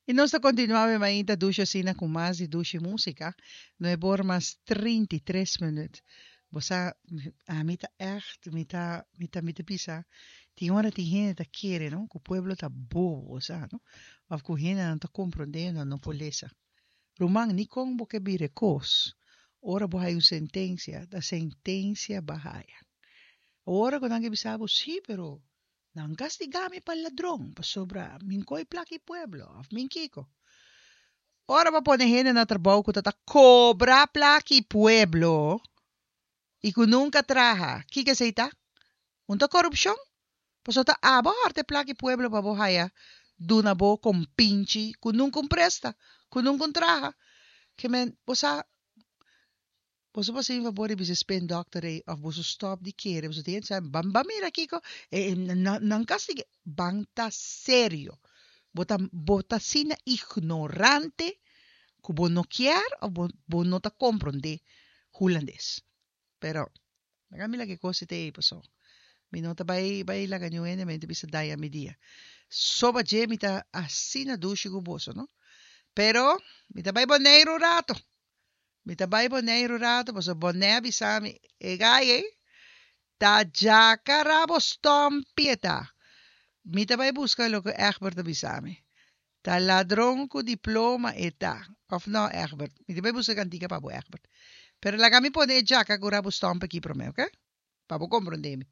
I nos ta kontinuá awe mainta dushi asina ku mas di dushi músika. Nuebor mas 33 minüt. Bo sa, ami ta ègt, mi ta, mi ta, mi ta bisa, tin ora tin hende ta kere, no, ku pueblo ta bobo, bo sa, no, òf ku hendenan ta komprondé, nan no por lesa. Ruman, ni kon bo ke bira e kos, ora bo haya un sentensia, ta sentensia bo a haya. Ora ku nan ke bisa bo, sí, pero Nan kastigá mi pa ladron, pasobra mi n'koi plaka i pueblo, òf mi n'kiko. Ora bo pone hende na trabou ku ta ta kobra plaka i pueblo i ku nunka traha, kiko esei ta? Un ta korupshon? Pasobra ta abo hòrta e plaka i pueblo pa bo haya duna bo kompinchi ku nunka un presta, ku nunka un traha. Ke men, bo sa, Boso por hasi mi fabor di bisa spin doctor ei of boso stop di kere boso tin sa ban ban mira kiko e nan kastig'e ban ta serio bo ta bo ta asina ignorante ku bo no kier of bo bo no ta kompronde hulandes pero laga mi laga e kos ei paso mi no ta bai bai laga niun hende mente bisa daña mi dia soba dje mi ta asina dushi ku boso no pero mi ta bai Boneiru un rato. Mi ta bai Boneiru rato pasobra Bonei a bisa mi, e gai ei ta djaka rabo stompi e ta. Mi ta bai buska loke Egbert a bisa mi. Ta ladron ku diploma e ta. Of no, Egbert? Mi ta bai buska kantika pa bo, Egbert. Pero laga mi pone e djaka ku rabo stompi aki promé, oke? Pa bo komprondé mi.